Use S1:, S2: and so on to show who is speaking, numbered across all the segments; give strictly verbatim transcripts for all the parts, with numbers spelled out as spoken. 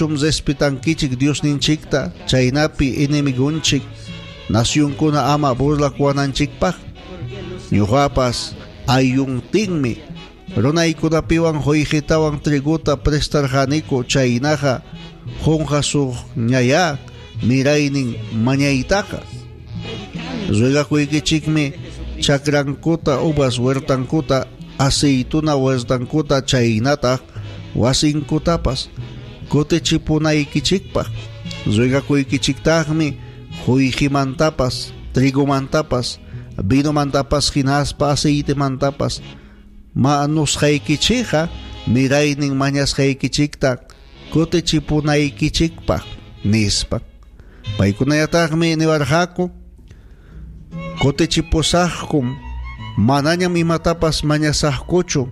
S1: Manachum respetankichik Diosninchikta chaynapi enemigunchik nacionkuna ama burlakuwananchikpaq? Ñuqapas ayuntinmi runaykunapiwan qollqitawan triguta prestarqaniku, chaynaqa qunqasuqñayá miraynin mañaytaqa. Ruegakuykichikmi chakrankuta, uvas huertankuta, aceituna huertankuta chaynataq wasinkutapas kutichipunaykichikpaq. Ruegakuykichiktaqmi qollqimantapas, trigumantapas, vinomantapas hinaspa aceitemantapas manusqaykichikqa miraynin mañasqaykichikta kutichipunaykichikpaq, nispa. Paykunayataqmi niwarqaku: kutichipusaqkum, manañam imatapas mañasaqkuchu,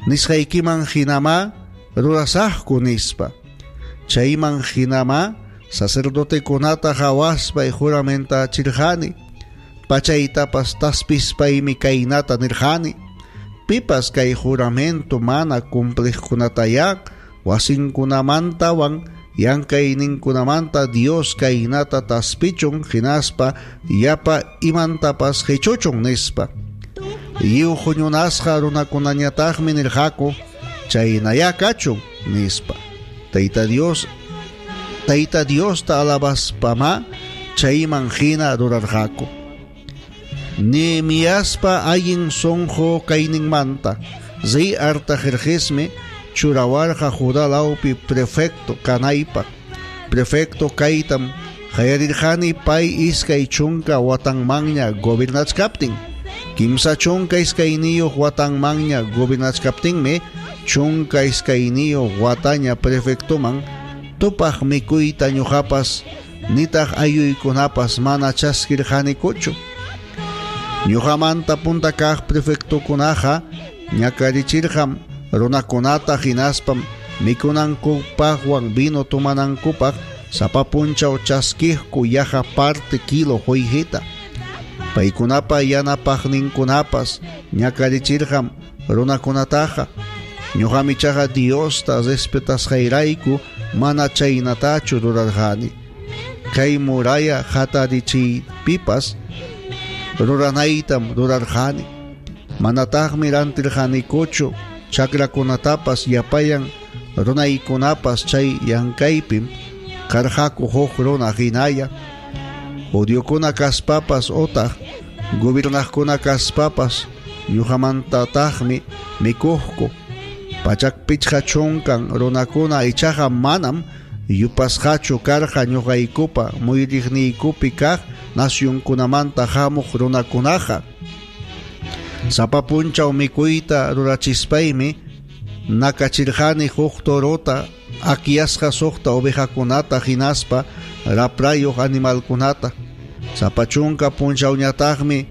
S1: nisqaykiman hinamá rurasaqku, nispa. Chayman hinamá sacerdotekunata hawaspay juramentachirqani, pachaytapas taspispaymi kaynata nirqani: pipas kay juramento mana cumpliqkunatayá wasinkunamantawan llankayninkunamanta Dios kaynata taspichun hinaspa yapa imantapas qichuchun, nispa. Lliw huñunasqa runakunañataqmi nirqaku: chaynayá kachun, nispa. Tayta Dios, Tayta Diosta alabaspamá chayman hina rurarqaku. Nehemiaspa allin sunqu kayninmanta rey Artajerjesmi churawarqa Judá lawpi prefecto kanaypaq. Prefecto kaytam qallarirqani pay iskay chunka watanmanña gobernachkaptin. Kimsa chunka iskayniyuq watanmanña gobernachkaptinmi chunka iskayniyuq wataña prefectoman tupaq mikuyta ñuqapas nitaq aylluykunapas mana chaskirqanikuchu. Ñuqamanta punta kaq prefectokunaqa ñakarichirqam runakunata hinaspam mikunankupaqwan vino tomanankupaq sapa punchaw chaskiqku yaqa parte kilo qollqita. Paykunapa yanapaqninkunapas ñakarichirqam runakunataqa. Ñuqam ichaqa Diosta respetasqayrayku mana chaynatachu rurarqani. Kay muralla hatarichiypipas ruranaytam rurarqani. Manataqmi rantirqanikuchu chakrakunatapas llapayan runaykunapas chay llankaypim karqaku huk runa hinalla. Judiokuna kaspapas otaq gobernaqkuna kaspapas ñuqamantataqmi mikuqku. Pachak pichqa chunkan runakuna ichaqa manam yupasqachu karqa ñuqaykupa muyuriqniykupi kaq nacionkunamanta hamuq runakunaqa. Sapa punchaw mikuyta rurachispaymi nakachirqani huk torota, akyasqa suqta ovejakunata hinaspa raprayuq animalkunata. Sapa chunka punchawñataqmi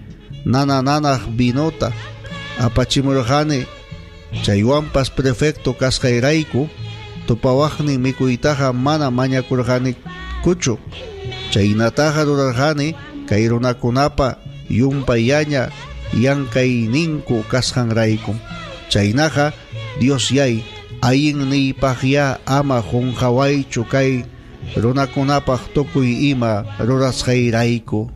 S1: nana nanaq vinota apachimurqani. Chaywanpas prefecto kasqayrayku tupawaqnin mikuytaqa mana mañakurqanikuchu. Chaynataqa rurarqani kay runakunapa yumpayaña llank'ayninku kasqanraykum. Chaynaqa Diosyay allinniypaqya ama qunqawaychu kay runakunapaq tukuy ima rurasqayrayku.